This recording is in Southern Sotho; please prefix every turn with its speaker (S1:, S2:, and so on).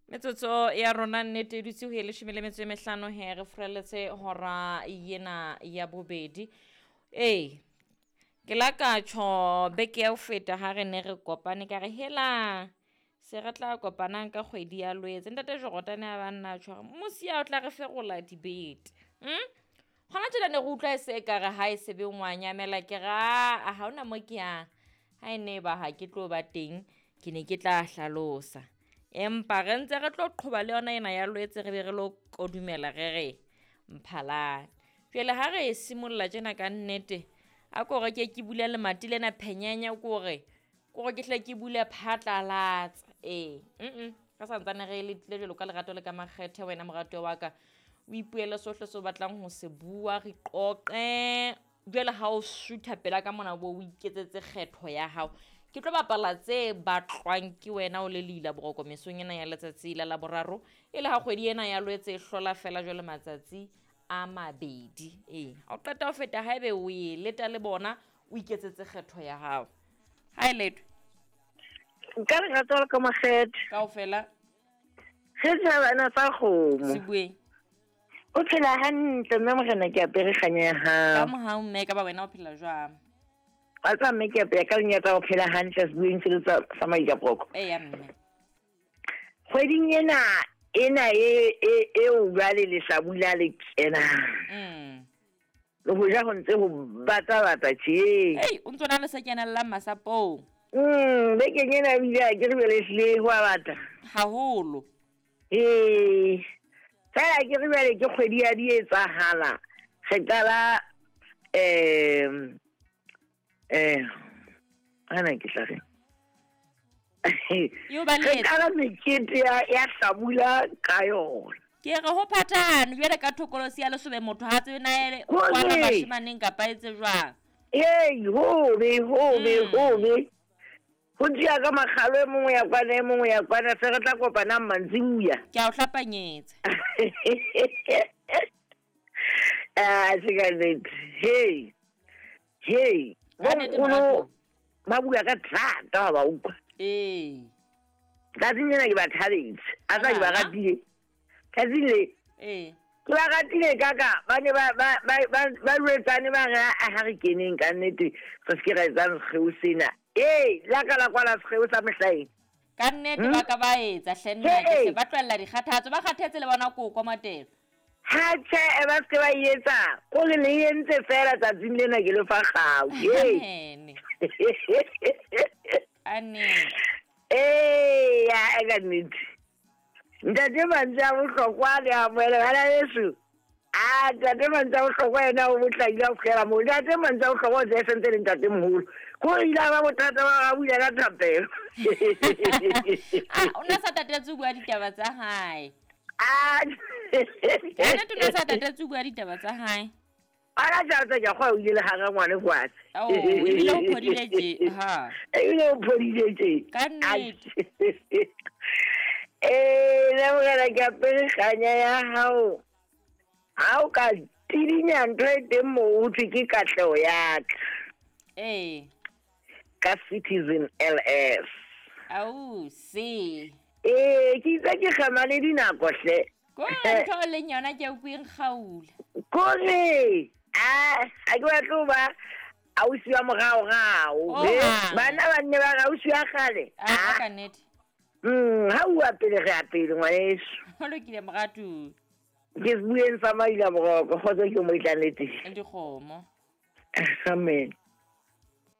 S1: Metsotso ya rona nnete e dutse ho e leshome le metso e mehlano he re furaletse hora yena ya bobedi. Ee, ke la ka tjho beke ya ho feta ha re ne re kopane ka re hela se re tla kopanang ka kgwedi ya Lwetse. Ntate Jorotane a ba nna tjho hore mosia o tla re ferola dibete. Hona tjena ne re utlwa e se ekare ha e se be ngwanyamela ke ra ha hona mo ke yang. Ha e ne ba ha ke tlo ba teng ke ne ke tla hlalosa. Empa re ntse re tlo qhoba le yona ena ya Lwetse re be re lo kodumela re re Mphalane. Jwale ha re e simolla tjena ka nnete, a ko re ke ke bule lemati lena phenyenya ko re ke hle ke bule phatlalatsa. Ee, re santsane re letile jwalo ka lerato le ka makgethe wena moratuwa wa ka. O ipuele sohle seo o batlang ho se bua, re qoqe. Jwale ha o sutha pela ka mona bo o iketsetse kgetho ya hao. Ke tlo bapala tse batlwang ke wena o le leila boroko mesong ena ya letsatsi la Laboraro. E le ha kgwedi ena ya Lwetse e hlola fela jwale matsatsi a mabedi. Ee, ha o qeta ho feta haebe o e leta le bona, o iketsetse kgetho ya hao. Ha e letwe.
S2: Ka lerato le ka makgethe.
S1: Kaofela.
S2: Re tjhabana tsa kgomo.
S1: Se bueng.
S2: O phela hantle mme morena ke apere kganya ya hao.
S1: Ka mohau mme ka ba wena o phela jwang?
S2: Wa tseba mme ke apere ka lenyatsa o phela hantle se bueng se le sa Maikaproko.
S1: Eya mme.
S2: Kgweding ena ena e eo jwale lehlabula le kenang. Le ho ja ho ntse ho bata bata tje.
S1: Ei, o ntso na le se kenellang masapong.
S2: Bekeng ena ebile ha ke re jwale ehlile ho a bata.
S1: Haholo.
S2: Ee. Fela ke re jwale ke kgwedi ya di etsahala. Re qala ana ke tla reng? Re qala mekete ya hlabula ka yona.
S1: Ke re ho phathahane jwale ka thokolosi ya lesobe motho ha tsebe na ele kwana bashemaneng kapa etse jwang.
S2: Hey, hobe hobe hobe. Ho tjia ka makgalo e mongwe ya kwana e mongwe ya kwana se re tla kopanang mantsibuya.
S1: Ke a o hlapanyetsa.
S2: Ah, se ka nnete. Hey. Hey, bonkgono ba bua ka thata ha ba utlwa.
S1: Ee.
S2: Tsatsing lena ke ba thabetse. A tsa ke ba ratile. Tsatsing le.
S1: Ee.
S2: Ke ba ratile kaka ba ne ba jwetsane ba re ha re keneng ka nnete re se ke ra etsang sekgeo sena. Ee, la ka la kwala sekgeo sa mehlaeng.
S1: Ka nnete ba ka ba etsa hle nna ke se ba tlohella dikgathatso ba kgathetse le bona koko Matelo.
S2: Ha tjhe ba se ke ba etsa. Ko le le entse fela tsatsing lena ke le fa kgau.
S1: Amen. Amen.
S2: Ee, ya ka nnete. Ntate mantswe a bohlokwa le amohele bana beso. Ah, ntate mantswe a bohlokwa yena o botlakile a fihlela moo. Ntate mantswe a bohlokwa o tse sentse le ntate moholo. Ko ile ba bothata ba bula ka thapelo.
S1: Ah, o na sa tatetse ho bua ditaba tsa hae.
S2: Ah.
S1: Ka nnete o na sa tatetse ho bua ditaba tsa hae.
S2: Ana tsa ke kgwa o ile le hara ngwane kwase.
S1: Oh, ebile o phodile tje. Ha.
S2: Ebile o phodile tje.
S1: Ka nnete.
S2: Eh, le morena ke apere kganya ya hao. Ha o ka tidinya ntho e teng moo ho thwe ke katleho ya ka.
S1: Ee.
S2: Ka Citizen LS.
S1: Au, se.
S2: Ee, ke itse ke kgama le dinako hle.
S1: Ko ntho e leng yona ke utlweng kgaula.
S2: Kore, a ke batle ho ba ausi wa moraorao. Bana ba nne ba re ausi wa kgale.
S1: A ka nnete.
S2: Ha o pele re a pele ngwaneso.
S1: Ho lokile moratu.
S2: Ke se bueng sa Maila Boroko, kgotso ke mo itlanetse.
S1: Dikgomo.
S2: Amen.